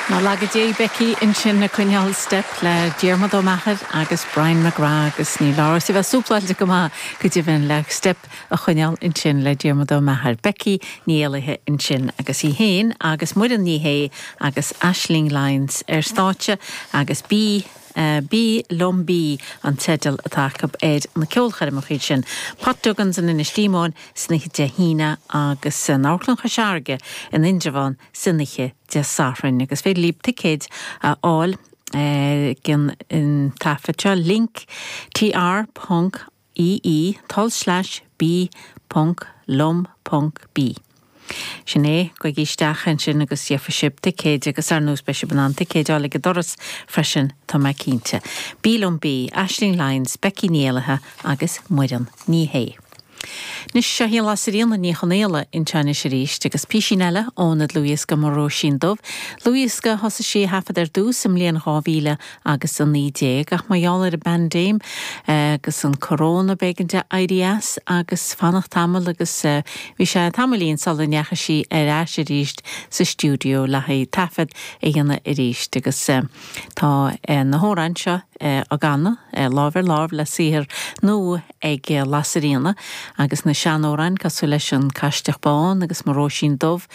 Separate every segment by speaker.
Speaker 1: Ná laga Dé Becky ansin ag coinneáil steip le Diarmuid Ó Meachair agus Brian McGrath agus níl amhras a bheith súpláilte go maith go deimhin le steip a choinneáil ansin le Diarmuid Ó Meachair. Becky Ní Éallaithe ansin agus í féin agus Muireann Ní Shé agus Aisling Lyons ar stáitse agus Bí Bí Liom Bí an teideal atá acu ar na ceolchoirmeacha sin. Pat Duggan's in Inis Díomóin san oíche Dé hAoine agus san Amharclann Chois Fharraige in Indreabhán san oíche Dé Sathairn. Agus féidir libh ticéid a fháil ag an taifead seo, link tr ponc ee tulslais bí ponc liom ponc bí. Sin é, gabhaigí isteach ansin agus gheobhaidh sibh ticéid agus ar ndóigh beidh sibh in ann ticéid a fháil ag an doras freisin, tá mé cinnte. Bí Liom Bí, Aisling Lyons, Becky Ní Éallaithe agus Muireann Ní Shé. Anois, seo í Lasairfhíona Ní Chonaola anseo anois arís agus písín eile óna dlúthdhiosca Mo Róisín Dubh, dlúthdhiosca a thosaigh sí a thaifead ar dtús i mbliain 2019 ach mar gheall ar an bpaindéim agus an coróna b'éigean di éirí as agus fanacht tamall agus bhí sé tamaillín sula ndeachaigh sí ar ais arís sa stiúideo le haghaidh taifead a dhéanamh arís agus tá na hamhráin seo á gcanadh lámh ar láimh le saothar nua ag Lasairfhíona agus na seanamhráin cosúil leis An Caisteach Bán agus Mo Róisín Dubh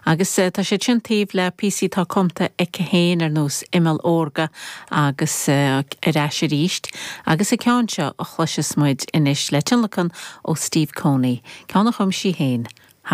Speaker 1: agus tá siad sin taobh le píosaí atá cumtha aici féin ar nós Imeall Órga agus Ar Ais Arís agus an ceann seo a chloisfeas muid anois le tionlacan ó Steve Coney, ceann a chum sí féin.